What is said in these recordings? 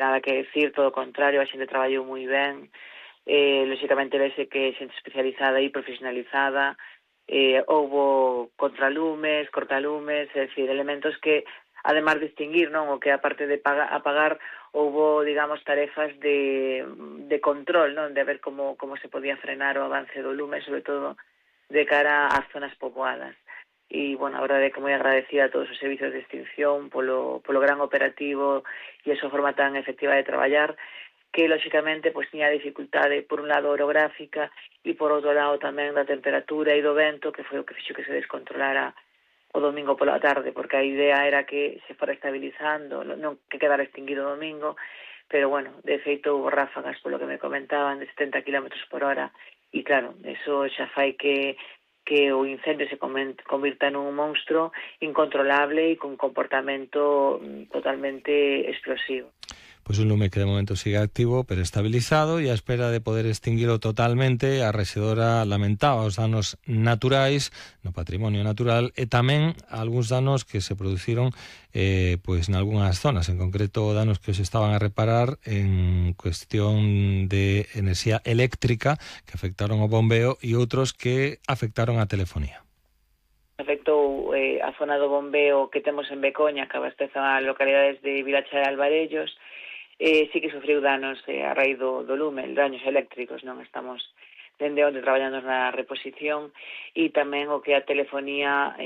nada que decir, todo o contrario, a xente traballou moi ben, lóxicamente vese que xente especializada e profesionalizada, houbo contralumes, cortalumes, é dicir, elementos que, además de extinguir, non, o que aparte de apagar, houbo, digamos, tarefas de control, non, de ver como se podía frenar o avance do lume, sobre todo de cara ás zonas poboadas. E, bueno, a verdade é que moi agradecida a todos os servizos de extinción polo gran operativo e a súa forma tan efectiva de traballar, que, lóxicamente, pois tiña dificultade, por un lado, orográfica e, por outro lado, tamén da temperatura e do vento, que foi o que fixo que se descontrolara o domingo pola tarde, porque a idea era que se fora estabilizando, non que quedara extinguido o domingo, pero, bueno, de feito, houve ráfagas, polo que me comentaban, de 70 km por hora, e, claro, eso xa fai que o incendio se convirta nun monstruo incontrolable e con comportamento totalmente explosivo. Pois un lume que de momento sigue activo pero estabilizado e a espera de poder extinguilo totalmente. A rexedora lamentaba os danos naturais no patrimonio natural e tamén algúns danos que se produciron pois nalgúnas zonas, en concreto danos que se estaban a reparar en cuestión de enerxía eléctrica que afectaron o bombeo e outros que afectaron a telefonía. Afectou a zona do bombeo que temos en Becoña, que abastece a localidades de Vilacha e Alvarellos. Sí que sufriu danos a raíz do lume, daños eléctricos, non estamos dende onde traballando na reposición, e tamén o que a telefonía,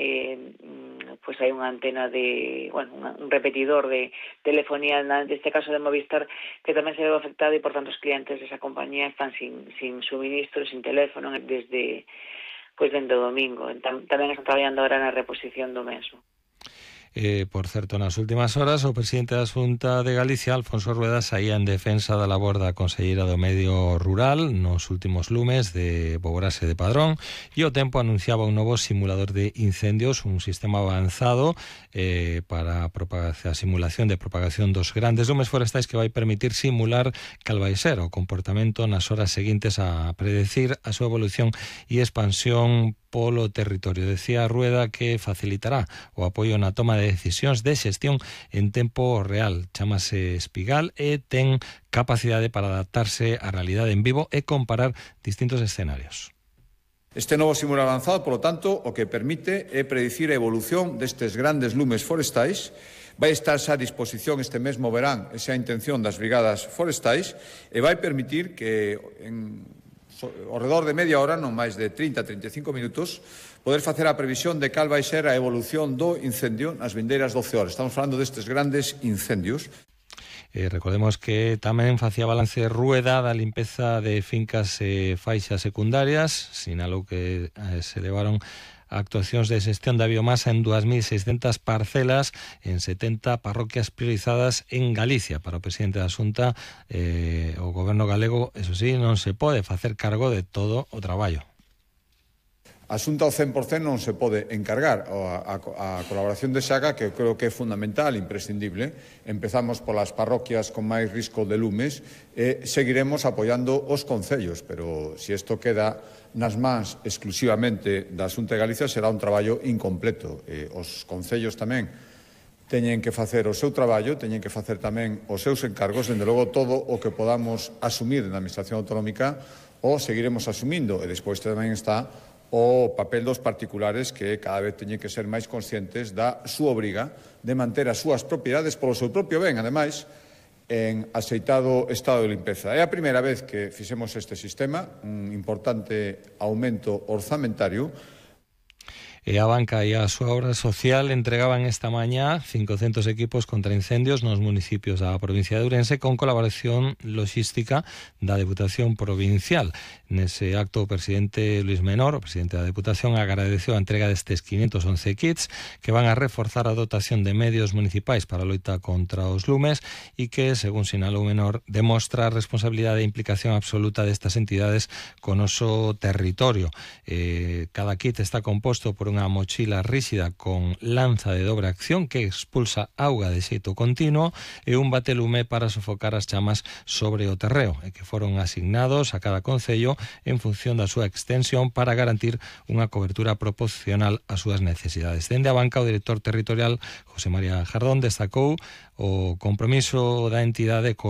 pois hai unha antena de, bueno, un repetidor de telefonía, neste caso de Movistar, que tamén se veu afectado e, por tanto, os clientes desa compañía están sin suministro, sin teléfono, desde o domingo. Tamén están traballando ahora na reposición do mesmo. Por certo, nas últimas horas o presidente da Xunta de Galicia, Alfonso Rueda, saía en defensa da labor da conselleira do Medio Rural nos últimos lumes de Boborase de Padrón, e o tempo anunciaba un novo simulador de incendios, un sistema avanzado para a simulación de propagación dos grandes lumes forestais que vai permitir simular cal vai ser o comportamento nas horas seguintes a predecir a súa evolución e expansión polo territorio. Decía Rueda que facilitará o apoio na toma de decisións de xestión en tempo real. Chámase Espigal e ten capacidade para adaptarse á realidade en vivo e comparar distintos escenarios. Este novo simulador avanzado, polo tanto, o que permite é predicir a evolución destes grandes lumes forestais. Vai estar xa a disposición este mesmo verán, esa é a intención das brigadas forestais, e vai permitir que ao redor de media hora, non máis de 30-35 minutos, poder facer a previsión de cal vai ser a evolución do incendio nas vindeiras 12 horas. Estamos falando destes grandes incendios. Recordemos que tamén facía balance Rueda da limpeza de fincas e faixas secundarias. Sinalou que se levaron actuacións de xestión da biomasa en 2.600 parcelas en 70 parroquias priorizadas en Galicia. Para o presidente da Xunta, o goberno galego, eso sí, non se pode facer cargo de todo o traballo. A Xunta ao 100% non se pode encargar. A colaboración de Xaga, que eu creo que é fundamental, imprescindible. Empezamos polas parroquias con máis risco de lumes e seguiremos apoiando os concellos, pero se isto queda nas mans exclusivamente da Xunta de Galicia será un traballo incompleto. Os concellos tamén teñen que facer o seu traballo, teñen que facer tamén os seus encargos, dende logo todo o que podamos asumir na Administración Autonómica o seguiremos asumindo, e despois tamén está o papel dos particulares que cada vez teñen que ser máis conscientes da súa obriga de manter as súas propiedades polo seu propio ben, ademais, en axeitado estado de limpeza. É a primeira vez que fixemos este sistema, un importante aumento orzamentario. E a banca e a súa obra social entregaban esta mañá 500 equipos contra incendios nos municipios da provincia de Ourense con colaboración logística da Deputación Provincial. Nese acto o presidente Luis Menor, o presidente da Deputación, agradeceu a entrega destes 511 kits que van a reforzar a dotación de medios municipais para a loita contra os lumes e que, según sinalou Menor, demostra a responsabilidade e implicación absoluta destas entidades con o noso territorio. Cada kit está composto por un unha mochila ríxida con lanza de dobre acción que expulsa auga de xeito continuo e un batelume para sofocar as chamas sobre o terreo, e que foron asignados a cada concello en función da súa extensión para garantir unha cobertura proporcional ás súas necesidades. Dende a banca, o director territorial José María Jardón destacou o compromiso da entidade co